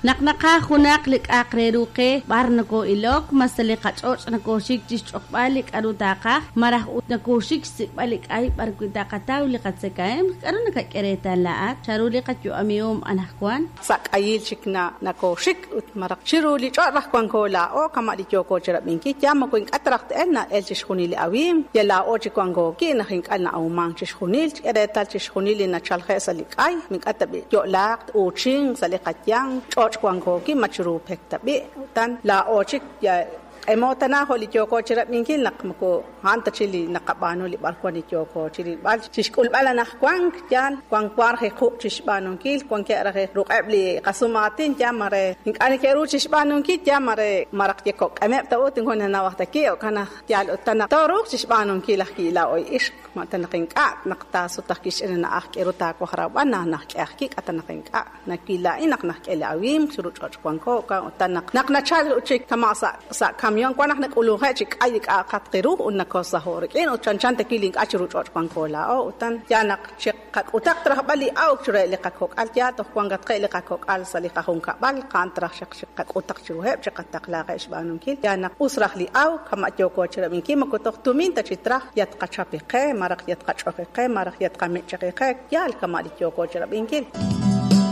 Naq naqaj junaq li k'a'aq re ru qe, b'ar nokoo'ilok, ma sa' li qach'och' nokooxik chi xch'oqb'al li k'aru taaqaj, malaj ut nokooxik xsik'b'al li k'ay b'arwi' taqataw li qatzakahemq? K'aru nakak'e reetal laa'at? Chanru li qayu'amihom anaqwan? Sa' k'ayil chik nakooxik ut maraj chiru li ch'och' raj wanko laa'o kama' li yooko chi rab'inkil, ya moko ink'a' ta raj te'elk na'elk chixjunil li awimq, yal laa'o chi wanko ki' naq ink'a' na'awmank chixjunil, chik'e reetal chixjunil li nachalje' sa' li k'ay, ink'a' ta b'i' yo'laaq t-uuchinq sa' li qayanq, ch'och' wanko ki' ma chiru pek ta b'i', utan laa'o chik ya q'emo tana jo' li yooko chi rab'inkil naq moko a'an ta chi li naqab'aanu li b'arwan li yooko chi rilb'al chi xk'ulb'al anaqwank yaal wank wank raj quq' chi xb'aanunkil wankeb' raj ruq'eb' li qasumaatin yaal mare ink'a' neke'ru chi xb'aanunkil yaal mare maraj yekok'emeb' ta ut ink'a' nanawaj ta ki' jo'kan naq yaal utan naq tooruuq chi xb'aanunkil ajwi' laa'o ixq ma ta naq ink'a' naq taasut ajwi' xch'ina na'aj k'e ru taawaj rawb'al naq najk'e ajwi' k'a ta naq ink'a' Nawil laa'in naq najk'e li awimq chiru ch'och' wanko, wan utan naq naq nachal ut chik kama' sa' sa' kamión wan naq nak'ulunje' chi k'ay li k'a'aqatq ru ut nakosaho' rik'in ut chanchan ta wi' li ink'a' chiru ch'och' wanko laa'o utan yaal naq chiqak'utaq rajb'al li awk chiruheb' li qakok'al yaal toj wankatqeb' li qakok'al sa' li qajunkab'al a'an traj xaq chiqak'utaq chiruheb' chiqataqlaaqeb' xb'aanunkil yaal naq us raj li awk kama' yooko chirab'inkil moko toj tumin ta chi traj yal tqachapi qe maraj yal tqach'oji qe maraj yal tqamich'aqi qe yaal kama' li yooko chirab'inkil.